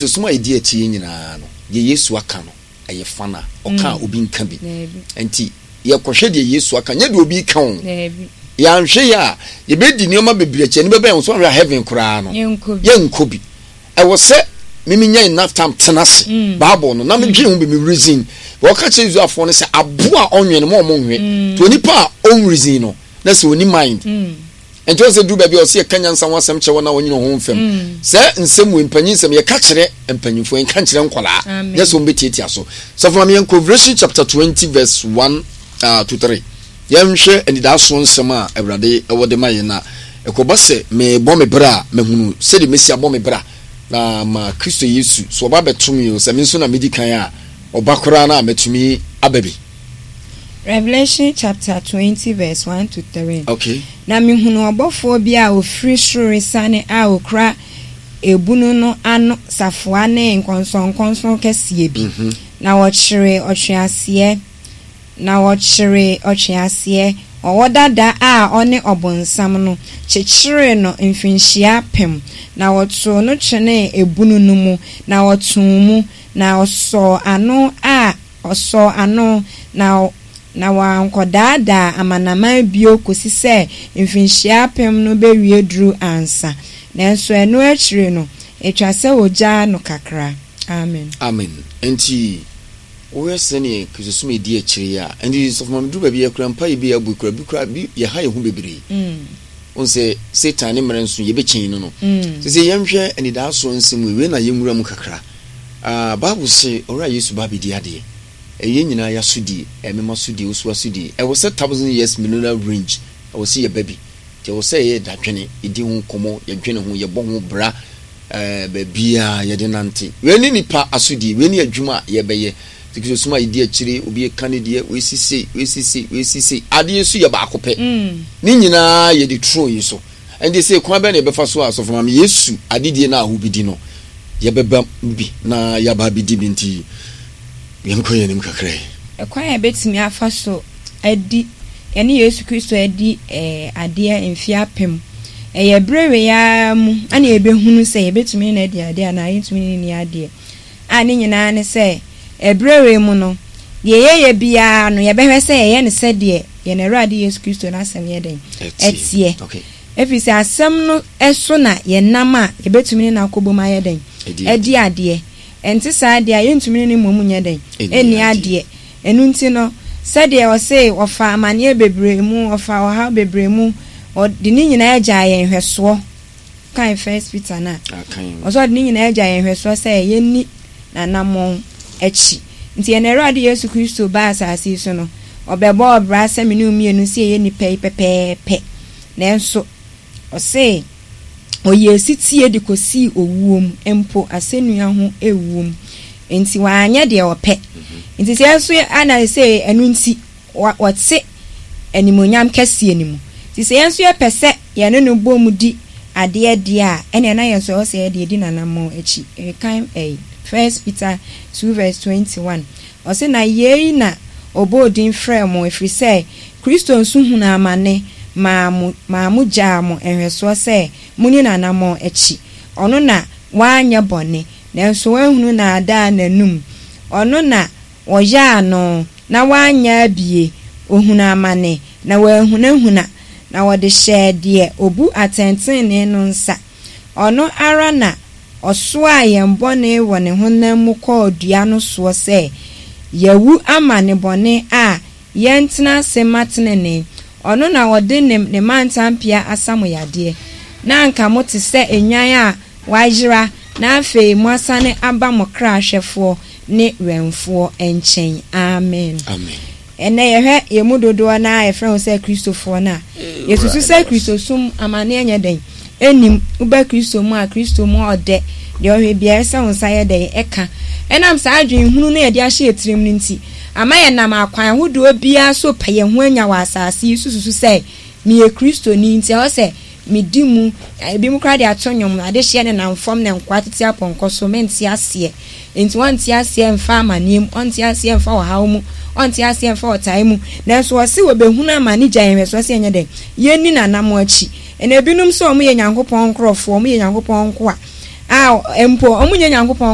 Kristosom a edi akyi yi nyinaa no, deɛ Yesu aka no, ɛyɛ fana. Ɔka a, obi nka bi. Enti, yɛkɔhwɛ deɛ Yesu aka, nyɛ deɛ obi reka o. Yɛanhwɛ yie a, yɛbɛdi nneɛma bebree akyi, ɛno bɛba yɛn so, anhwɛ a heaven koraa no, yɛnkɔ bi. Ɛwɔ sɛ me menya enough time tena ase, Bible no, na medwen ho bi, me reason. Wɔka kyerɛ Israelfoɔ no sɛ, aboa a ɔnwe no, ma ɔmo nwe. Nti onipa a ɔnreason no, na sɛ ɔni mind. Nti ɔsɛ duru baabi a ɔsɛ yɛka nyansa ho asɛm kyerɛ wɔn a wɔnyini wɔn ho mfam. Sɛ nsɛm wei mpanyin nsɛm yɛka kyerɛ mpanyinfoɔ yɛnka nkyerɛ nkwadaa nyɛ sɛ wɔn bɛtiatia so. Sɔfo maame yɛnkɔ Revelation chapter 20 verse 1 uh, to 3. Yɛnhwɛ anidaasoɔ nsɛm a Awurade wɔ de ma yɛn na ɛkɔba sɛ mebɔ me bra a mahunu sɛdeɛ mɛsi abɔ me bra na ma Kristo Yesu so ɔba bɛto me o sɛ me nso na medi kan a ɔba koraa no a mɛtumi aba bi. Revelation chapter 20 verse 1 to 3. Okay. Na mehunuu ɔbɔfoɔ bi a ɔfiri soro resiane a ɔkura ebunu no ano safoa ne nkɔnsɔnkɔnsɔn kɛseɛ bi. Mm -hmm. Na wɔkyeree ɔtweaseɛ, na wɔkyeree ɔtweaseɛ, ɔwɔ dada a ɔne ɔbonsam no, kyekyeree no mfirinhyia apem, na wɔtoo no twenee ebunu no mu, na ɔtoo mu, na ɔsɔɔ ano a Ɔsɔɔ ano, na na wankɔdaadaa amanaman bio kosi sɛ mfinhyia apem no bewie duru ansa. Nanso ɛno akyiri no, etwa sɛ wogyaa no kakra. Amen. Amen. Enti, wohwɛ sɛdeɛ Kristosom redi akyire yi a, enti Sɔfo Maame duru baabi yɛkura mpaeɛ bi a yɛabɔ yi kura bi kura bi yɛha yɛn ho bebree. Wohu sɛ Satan ne mmerɛ nso yɛbɛkyɛn no no. Sese yɛnhwɛ anidaasoɔ nsɛm wei, wei na yɛnwura mu kakra. Ah, Bible se Owura Yesu ba abedi adeɛ. Ɛyɛ yɛn nyinaa y'asodie, ɛyɛ me m'asodie, wo nso w'asodie. Ɛwɔ sɛ thousand years millennial range, ɛwɔ sɛ yɛba bi. Nti ɛwɔ sɛ yɛyɛ dadwene, yɛdi ho nkɔmmɔ, yɛdwene ho, yɛbɔ ho bra, eh, baabiara yɛde nante. Wei ne nipa asodie, wei ne adwuma a yɛbɛyɛ. Nti Kristosom a yɛdi akyire, obi reka ne deɛ, wei si sei, wei si sei, wei si sei. Adeɛ nso yɛ baako pɛ. Ne nyinaa yɛde turo yi so. Ɛnde sei, kwan bɛn na yɛbɛfa so a Asɔfo Maame Yesu adedie no a wobɛdi no, yɛbɛba mu bi na yɛaba abɛdi bi nti, yɛnkɔ yɛn anim kakra yi. Ɛkwan a yɛbɛtumi afa so adi yɛne Yesu Kristo adi adeɛ mfeɛ apem. Ɛyɛ berɛ wei ara mu na yɛbɛhunu sɛ yɛbɛtumi ne no adi adeɛ anaa yɛntumi ne no nni adeɛ. A ne nyinaa ne sɛ, ɛberɛ wei mu no, deɛ yɛyɛ biara no, yɛbɛhwɛ sɛ yɛyɛ no sɛdeɛ yɛn Awurade Yesu Kristo no asɛm yɛ dɛn? Ɛteɛ. Ɛfiri sɛ asɛm no so na yɛnam a yɛbɛtumi ne no akɔbom ayɛ dɛn? Adi adeɛ. Ɛnte saa deɛ a, yɛntumi ne no mmom nyɛ dɛn? Nni adeɛ. Ɛno nti no, sɛdeɛ ɔse ɔfaa amaneɛ bebree mu, ɔfaa ɔhaw bebree mu, ɔde ne nyinaa gyaa yɛn nhwɛsoɔ. Kan First Peter no a, ɔsɛ ɔde ne nyinaa gya yɛn nhwɛsoɔ sɛ yɛnni n'anammɔn akyi. Nti yɛn Awurade Yesu Kristo baa asase yi so no, ɔbɛbɔɔ bra sɛ me ne wo mmienu sɛ yɛyɛ nnipa yi pɛpɛɛpɛ. Nanso ɔse ɔyɛɛ setie de kɔsii owuo mu, mpo asɛnnua ho wuo mu. Nti wanyɛ deɛ ɔpɛ. Nti sɛ yɛn nso ana sɛ ɛno nti wɔte animuonyam kɛseɛ no mu. Nti sɛ yɛn nso yɛpɛ sɛ yɛne no bɔ mu di adeɛ deɛ a, ɛnneɛ na yɛn nso ɛwɔ sɛ yɛde yɛdi n'anammɔn akyi. Rekan ɛyi, First Peter 2 verse 21. Ɔse, Na yei na ɔbɔɔ din frɛɛ mo, ɛfiri sɛ Kristo nso hunuu amane maa mo, maa mo gyaa mo nhwɛsoɔ sɛ monni n'anammɔn akyi. Ɔno na wanyɛ bɔne, nanso wɔanhunu naadaa n'anom. Ɔno na Wɔyaa no, na wannyɛ abie, ɔhunuu amane, na wanhunahuna, na wɔde hyɛɛ deɛ ɔbu atɛntenenee no nsa. Ɔno ara na ɔsoaa yɛn bɔne wɔ ne honam mu kɔɔ dua no soɔ sɛ, yɛawu ama nnebɔne a, yɛntena ase mma tenenee. Ɔno na ɔde ne ne mantampea asa mo yadeɛ. Na anka mote sɛ nnwan a wɔayera, na afei moasane aba mo kra hwɛfoɔ ne wɛmfoɔ nkyɛn. Amen. Amen. Ɛnnɛ yɛhwɛ yɛn mu dodoɔ no ara a yɛfrɛ wɔn sɛ Kristofoɔ no a, yɛsusu sɛ Kristosom amanneɛ nyɛ dɛn? Ɛnnim. Woba Kristo mu a, Kristo mu ɔdɛ, deɛ ɔhwɛ biara ɛsɛ wo nsa yɛ dɛn? Ɛka. Ɛnam saa adwene hunu no a yɛde ahyɛ yɛn tirim no nti, ama yɛnam akwan ahodoɔ biara so repɛ yɛn ho anya wɔ asase yi so susu sɛ, meyɛ Kristoni nti ɛwɔ sɛ medi mu, ebinom koraa de ato nnwom, adehyeɛ nenam fam na nkoa tete apɔnkɔ so, mente aseɛ. Enti ɔnte aseɛ mfa amaneɛ mu, ɔnte aseɛ mfa ɔhaw mu, ɔnte aseɛ mfa ɔtaa mu. Nanso ɔse wɔbɛhunu amane gya yɛn nhwɛsoɔ sɛ yɛnyɛ dɛn? Yɛnni n'anamɔ akyi. Ɛna ebinom sɛ wɔyɛ Nyankopɔn nkorɔfoɔ, wɔyɛ Nyankopɔn nkoa. A mpo wɔnyɛ Nyankopɔn.